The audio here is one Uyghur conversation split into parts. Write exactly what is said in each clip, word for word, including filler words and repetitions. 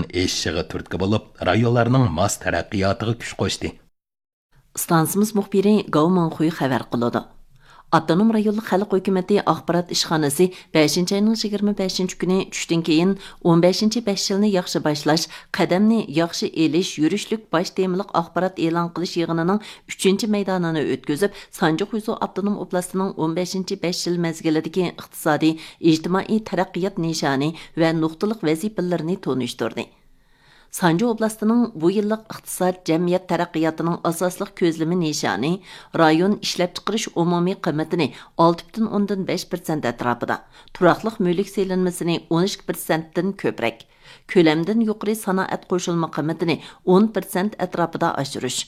ئېشىشىغا تۈرتكە بولۇپ، رايونلارنىڭ ماس تەرەققىياتىغا كۈچ قوشتى. ئىستانسىمىز مۇخبىرى گاۋ مىڭخۇي خەۋەر قىلىدۇ. ئاپتونوم رايونلۇق خەلق ھۆكۈمىتى ئاخبارات ئىشخانىسى بەشىنچى ئاينىڭ يىگىرمە بەشىنچى كۈنى چۈشتىن كېيىن ئون بەشىنچى بەش يىلنى ياخشى باشلاش، قەدەمنى ياخشى ئېلىش يۈرۈشلۈك باش تېمىلىق ئاخبارات ئېلان قىلىش يىغىنىنىڭ ئۈچىنچى مەيدانىنى ئۆتكۈزۈپ، سانجى خۇيزۇ ئاپتونوم ئوبلاستىنىڭ ئون بەشىنچى بەش يىل مەزگىلىدىكى ئىقتىسادىي، ئىجتىمائىي تەرەققىيات نىشانى ۋە نۇقتىلىق ۋەزىپىلىرىنى تونۇشتۇردى. سانجى ئوبلاستىنىڭ بۇ يىللىق ئىقتىساد، جەمئىيەت تەرەققىياتىنىڭ ئاساسلىق كۆزلىمە نىشانى رايون ئىشلەپچىقىرىش ئومۇمىي قىممىتىنى ئالتە پۈتۈن ئوندىن بەش پىرسەنت ئەتراپىدا، تۇراقلىق مۈلۈك سېلىنمىسىنى ئون ئىككى پىرسەنتتىن كۆپرەك، كۆلەمدىن يۇقىرى سانائەت قوشۇلما قىممىتىنى ئون پىرسەنت ئەتراپىدا ئاشۇرۇش،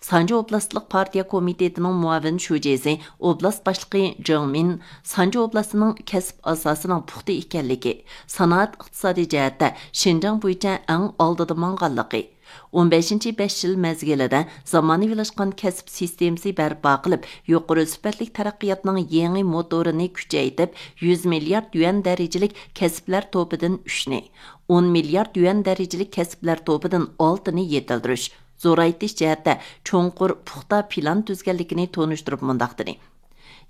سانجى ئوبلاستلىق پارتىيە كومىتېتىنىڭ مۇئاۋىن شۇجىسى، ئوبلاست باشلىقى جېڭ مىن سانجى ئوبلاستىنىڭ كەسىپ ئاساسىنىڭ پۇختا ئىكەنلىكى، سانائەت ئىقتىسادىي جەھەتتە شىنجاڭ بويىچە ئەڭ ئالدىدا ماڭغانلىقى، ئون بەشىنچى بەش يىل مەزگىلىدە زامانىۋىلاشقان كەسىپ سىستېمىسى بەرپا قىلىپ، يۇقىرى سۈپەتلىك تەرەققىياتنىڭ يېڭى موتورىنى كۈچەيتىپ، يۈز مىليارد يۈەن دەرىجىلىك كەسىپلەر توپىدىن ئۈچنى، ئون مىليارد يۈەن دەرىجىلىك كەسىپلەر توپىدىن ئالتىنى يېتىلدۈرۈش، زورايتىش جەھەتتە چوڭقۇر، پۇختا پىلان تۈزگەنلىكىنى تونۇشتۇرۇپ مۇنداق دېدى: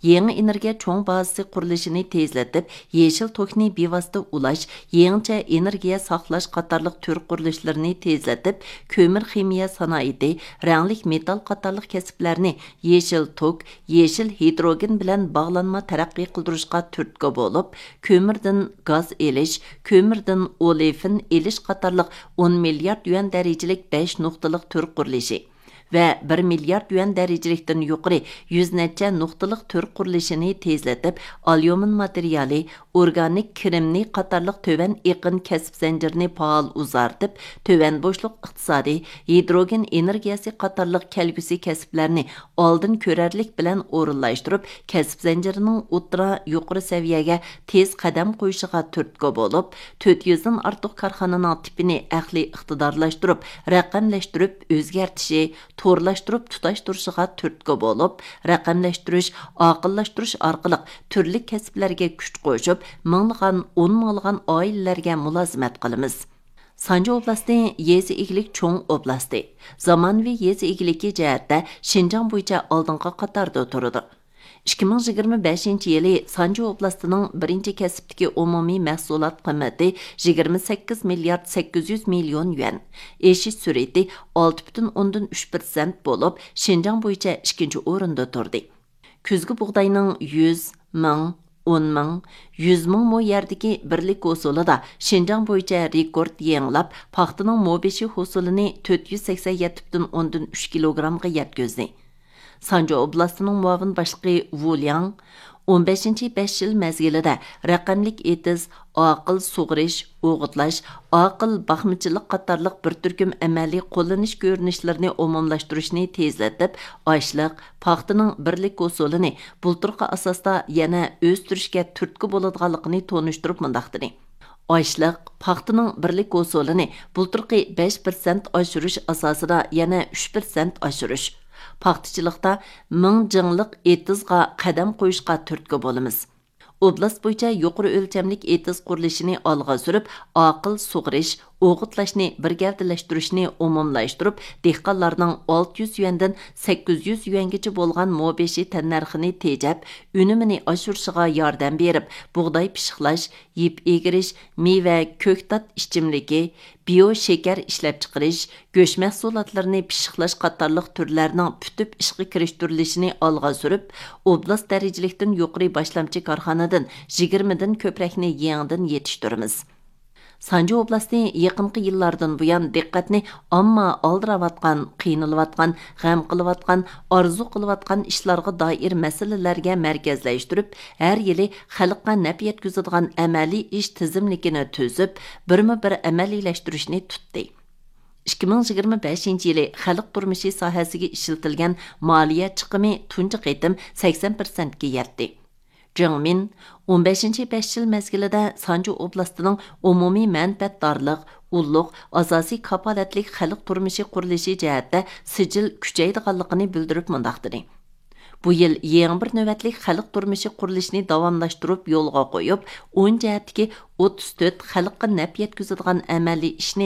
يېڭى ئېنېرگىيە چوڭ بازىسى قۇرۇلۇشىنى تېزلىتىپ، يېشىل توكنى بىۋاسىتە ئۇلاش، يېڭىچە ئېنېرگىيە ساقلاش قاتارلىق تۈر قۇرۇلۇشلىرىنى تېزلىتىپ، كۆمۈر خىمىيە سانائىتى، رەڭلىك مېتال قاتارلىق كەسىپلەرنى يېشىل توك، يېشىل ھىدروگېن بىلەن باغلانما تەرەققىي قىلدۇرۇشقا تۈرتكە بولۇپ، كۆمۈردىن گاز ئېلىش، كۆمۈردىن ئولېفىن ئېلىش قاتارلىق ئون مىليارد يۈەن دەرىجىلىك بەش نۇقتىلىق تۈر قۇرۇلۇشى ۋە بىر مىليارد يۈەن دەرىجىلىكتىن يۇقىرى يۈز نەچچە نۇقتىلىق تۈر قۇرۇلۇشىنى تېزلىتىپ، ئاليۇمىن ماتېرىيالى، ئورگانىك كىرېمنىي قاتارلىق تۆۋەن ئېقىن كەسىپ زەنجىرىنى پائال ئۇزارتىپ، تۆۋەن بوشلۇق ئىقتىسادى، ھىدروگېن ئېنېرگىيەسى قاتارلىق كەلگۈسى كەسىپلەرنى ئالدىن كۆرەرلىك بىلەن ئورۇنلاشتۇرۇپ، كەسىپ زەنجىرىنىڭ ئوتتۇرا، يۇقىرى سەۋىيەگە تېز قەدەم قويۇشىغا تۈرتكە بولۇپ، تۆت يۈزدىن ئارتۇق كارخانىنىڭ تىپىنى ئەقلىي ئىقتىدارلاشتۇرۇپ، رەقەملەشتۈرۈپ ئۆزگەرتىشى، تورلاشتۇرۇپ تۇتاشتۇرۇشىغا تۈرتكە بولۇپ، رەقەملەشتۈرۈش، ئاقىللاشتۇرۇش ئارقىلىق تۈرلۈك كەسىپلەرگە كۈچ قوشۇپ، مىڭلىغان، ئون مىڭلىغان ئائىلىلەرگە مۇلازىمەت قىلىمىز. سانجى ئوبلاستى يېزا ئىگىلىك چوڭ ئوبلاستى. زامانىۋى يېزا ئىگىلىكى جەھەتتە شىنجاڭ بويىچە ئالدىنقى قاتاردا تۇرىدۇ. ئىككى مىڭ يىگىرمە بەشىنچى يىلى سانجى ئوبلاستىنىڭ بىرىنچى كەسىپتىكى ئومۇمىي مەھسۇلات قىممىتى يىگىرمە سەككىز مىليارد سەككىز يۈز مىليون يۈەن، ئېشىش سۈرئىتى ئالتە پۈتۈن ئوندىن ئۈچ پىرسەنت بولۇپ، شىنجاڭ بويىچە ئىككىنچى ئورۇندا تۇردى. كۈزگى بۇغداينىڭ يۈز، مىڭ، ئون مىڭ، يۈز مىڭ مو يەردىكى بىرلىك ھوسۇلىدا شىنجاڭ بويىچە رېكورت يېڭىلاپ، پاختىنىڭ مو بېشى ھوسۇلىنى تۆت يۈز سەكسەن يەتتە پۈتۈن ئوندىن ئۈچ كىلوگرامغا يەتكۈزدى. سانجى ئوبلاستىنىڭ مۇئاۋىن باشلىقى ۋۇ لياڭ ئون بەشىنچى بەش يىل مەزگىلىدە رەقەملىك ئېتىز، ئاقىل سۇغىرىش، ئوغۇتلاش، ئاقىل باقمىچىلىق قاتارلىق بىر تۈركۈم ئەمەلىي قوللىنىش كۆرۈنۈشلىرىنى ئومۇملاشتۇرۇشنى تېزلىتىپ، ئاشلىق، پاختىنىڭ بىرلىك ھوسۇلىنى بۇلتۇرقى ئاساستا يەنە ئۆستۈرۈشكە تۈرتكە بولىدىغانلىقىنى تونۇشتۇرۇپ مۇنداق دېدى: ئاشلىق، پاختىنىڭ بىرلىك ھوسۇلىنى بۇلتۇرقى بەش پىرسەنت ئاشۇرۇش ئاساسىدا يەنە ئۈچ پىرسەنت ئاشۇرۇش، پاختىچىلىقتا مىڭ جىڭلىق ئېتىزغا قەدەم قويۇشقا تۈرتكە بولىمىز. ئوبلاست بويىچە يۇقىرى ئۆلچەملىك ئېتىز قۇرۇلۇشىنى ئالغا سۈرۈپ، ئاقىل سۇغىرىش، ئوغۇتلاشنى بىر گەۋدىلەشتۈرۈشنى ئومۇملاشتۇرۇپ، دېھقانلارنىڭ ئالتە يۈز يۈەندىن سەككىز يۈز يۈەنگىچە بولغان مو بېشى تەننەرخىنى تېجەپ، ئۈنۈمىنى ئاشۇرۇشىغا ياردەم بېرىپ، بۇغداي پىششىقلاش، يىپ ئېگىرىش، مېۋە، كۆكتات ئىچىملىكى، بىيو شېكەر ئىشلەپچىقىرىش، گۆش مەھسۇلاتلىرىنى پىششىقلاش قاتارلىق تۈرلەرنىڭ پۈتۈپ ئىشقا كىرىشتۈرۈلۈشىنى ئالغا سۈرۈپ، ئوبلاست دەرىجىلىكتىن يۇقىرى باشلامچى كارخانىدىن يىگىرمىدىن كۆپرەكنى يېڭىدىن يېتىشتۈرىمىز. سانجى ئوبلاستى يېقىنقى يىللاردىن بۇيان دىققەتنى ئامما ئالدىراۋاتقان، قىينىلىۋاتقان، غەم قىلىۋاتقان، ئارزۇ قىلىۋاتقان ئىشلارغا دائىر مەسىلىلەرگە مەركەزلەشتۈرۈپ، ھەر يىلى خەلققە نەپ يەتكۈزىدىغان ئەمەلىي ئىش تىزىملىكىنى تۈزۈپ، بىرمۇ بىر ئەمەلىيلەشتۈرۈشنى تۇتتى. ئىككى مىڭ يىگىرمە بەشىنچى يىلى خەلق تۇرمۇشى ساھەسىگە ئىشلىتىلگەن مالىيە چىقىمى تۇنجى قېتىم سەكسەن پىرسەنتكە يەتتى. جېڭ مىن ئون بەشىنچى بەش يىل مەزگىلىدە سانجى ئوبلاستىنىڭ ئومۇمىي مەنپەئەتدارلىق، ئۇللۇق، ئاساسىي كاپالەتلىك خەلق تۇرمۇشى قۇرۇلۇشى جەھەتتە سىجىل كۈچەيدىغانلىقىنى بىلدۈرۈپ مۇنداق دېدى: بۇ يىل يېڭى بىر نۆۋەتلىك خەلق تۇرمۇشى قۇرۇلۇشىنى داۋاملاشتۇرۇپ يولغا قويۇپ، ئون جەھەتتىكى ئوتتۇز تۆت خەلققە نەپ يەتكۈزىدىغان ئەمەلىي ئىشنى